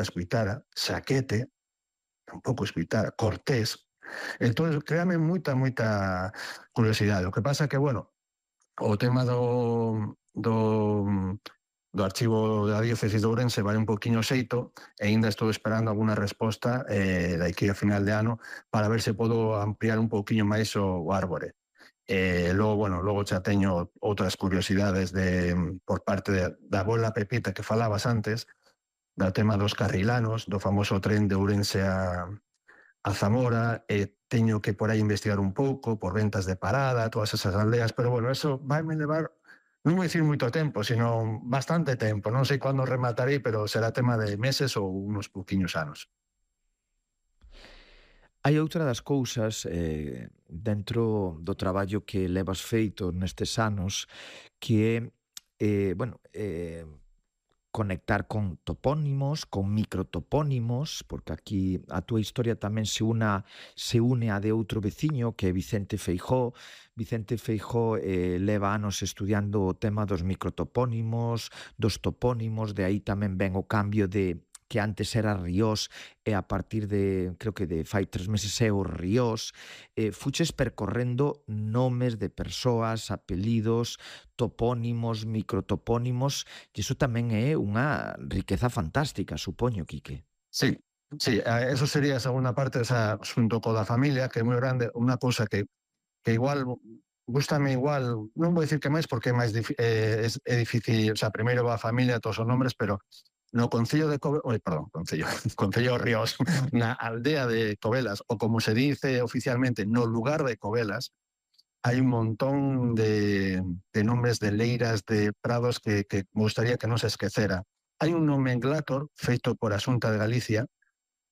nunca escuitara, Saquete, tampouco escuitara, Cortés. Entón, créame moita curiosidade. O que pasa que, bueno, o tema do archivo da diócesis de Ourense vai un poquinho xeito e aínda estou esperando alguna resposta daqui a final de ano para ver se podo ampliar un poquinho máis o árbore. Logo, bueno, logo xa teño outras curiosidades por parte da abuela Pepita que falabas antes, do tema dos carrilanos, do famoso tren de Ourense a Zamora, teño que por aí investigar un pouco, por ventas de parada, todas esas aldeas, pero bueno, eso vaime levar, non vou dicir moito tempo, sino bastante tempo. Non sei cando rematarei, pero será tema de meses ou unos pouquiños anos. Hai outra das cousas dentro do traballo que levas feito nestes anos que é, conectar con topónimos, con microtopónimos, porque aquí a túa historia tamén se une a de outro veciño que é Vicente Feijóo. Vicente Feijóo leva anos estudiando o tema dos microtopónimos, dos topónimos, de aí tamén ven o cambio de que antes era Ríos e a partir de, creo que de fai 3 meses é o Ríos. Fuches percorrendo nomes de persoas, apelidos, topónimos, microtopónimos, e iso tamén é unha riqueza fantástica, supoño, Quique. Sí, sí, eso sería a segunda parte, esa xunto co da familia, que é moi grande, unha cousa que igual gústame igual, non vou dicir que máis porque é máis é difícil, o sea, primeiro va a familia, todos os nombres, pero no concello de concello Ríos, na aldea de Covelas, o como se dice oficialmente, no lugar de Covelas, hai un montón de nombres de leiras, de prados que me gustaría que non se esquecera. Hai un nomenclator feito por a Xunta de Galicia,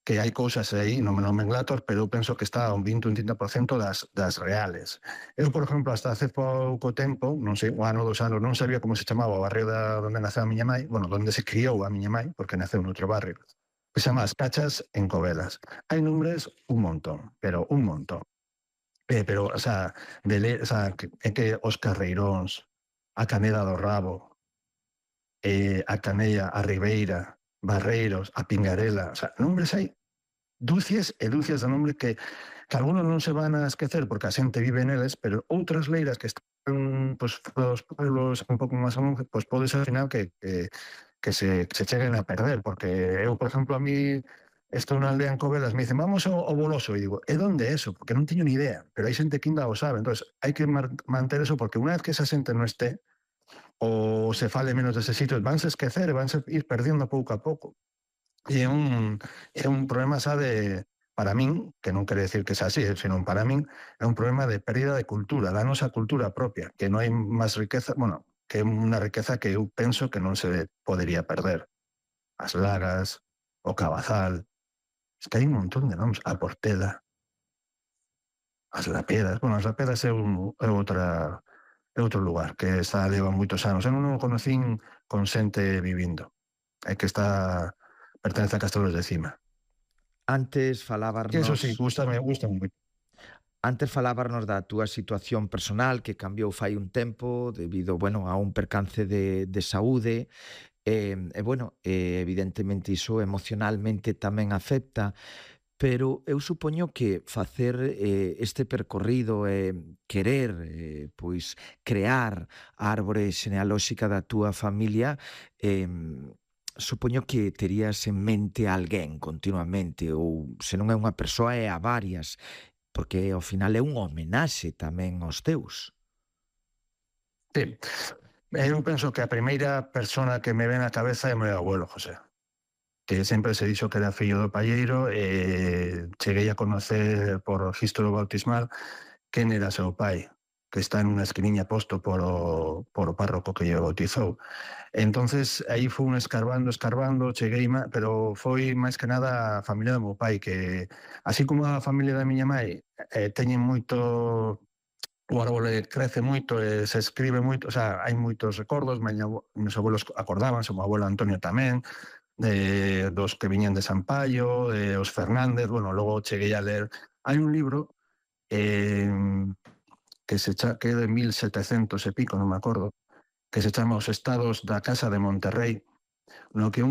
que hai cousas aí no nomenclator, pero eu penso que está un 20 ou un 30% das reales. Eu, por exemplo, hasta hace pouco tempo, non sei, un ano, 2 anos, non sabía como se chamaba o barrio onde naceu a miña mãe, bueno, onde se criou a miña mãe, porque naceu noutro barrio, que se chama As Cachas en Covelas. Hai nombres un montón, pero un montón. Pero, o sea, é que os Carreiróns, a Caneda do Rabo, a Canella, a Ribeira, Barreiros, a Pingarela, o sea, nombres hai dúcias e dúcias de nombre que algunos non se van a esquecer porque a xente vive neles, pero outras leiras que están os pueblos un pouco máis ao longe, pode ser ao final que se cheguen a perder, porque eu, por exemplo, a mí estou na aldea en Covelas, me dicen, vamos ao Boloso, e digo, é onde é eso? Porque non teño ni idea, pero hai xente que ainda o sabe, entonces hai que manter eso, porque unha vez que esa xente non esté, ou se fale menos dese sitio, vanse esquecer e vanse ir perdendo pouco a pouco. E é un problema xa para min, que non quere decir que xa así, senón para min, é un problema de pérdida de cultura, da nosa cultura propia, que non hai máis riqueza, bueno, que é unha riqueza que eu penso que non se podería perder. As Lagas, o Cabazal, es que hai un montón de nomes, a Portela, as Lapedas, bueno, as Lapedas é outro lugar que está leva moitos anos. Eu non o conocín con xente vivindo. É que pertence a Castelos de Cima. Antes Que eso sí, falábarnos gústame moito. Antes falábarnos da túa situación personal que cambiou fai un tempo debido, a un percance de saúde evidentemente iso emocionalmente tamén afecta, pero eu supoño que facer este percorrido e querer crear a árbore xenealóxica da túa familia supoño que terías en mente a alguén continuamente ou se non é unha persoa é a varias porque ao final é unha homenaxe tamén aos teus. Sí, eu penso que a primeira persona que me ven á cabeza é o meu abuelo José, que sempre se dixo que era fillo do palleiro e cheguei a conocer por registro bautismal quen era seu pai, que está en unha esquiniña posto por o párroco que lle bautizou. Entonces, aí fui escarbando, cheguei, pero foi máis que nada a familia do meu pai, que así como a familia da miña mãe teñen moito, o árbore crece moito e se escribe moito, o sea, hai moitos recordos, meus abuelos acordábanse, o meu abuelo Antonio tamén, dos que viñan de San Paio, os Fernández, bueno, logo cheguei a ler, hai un libro eh, que é de 1700 e pico, non me acordo, que se chama Os estados da Casa de Monterrey, no que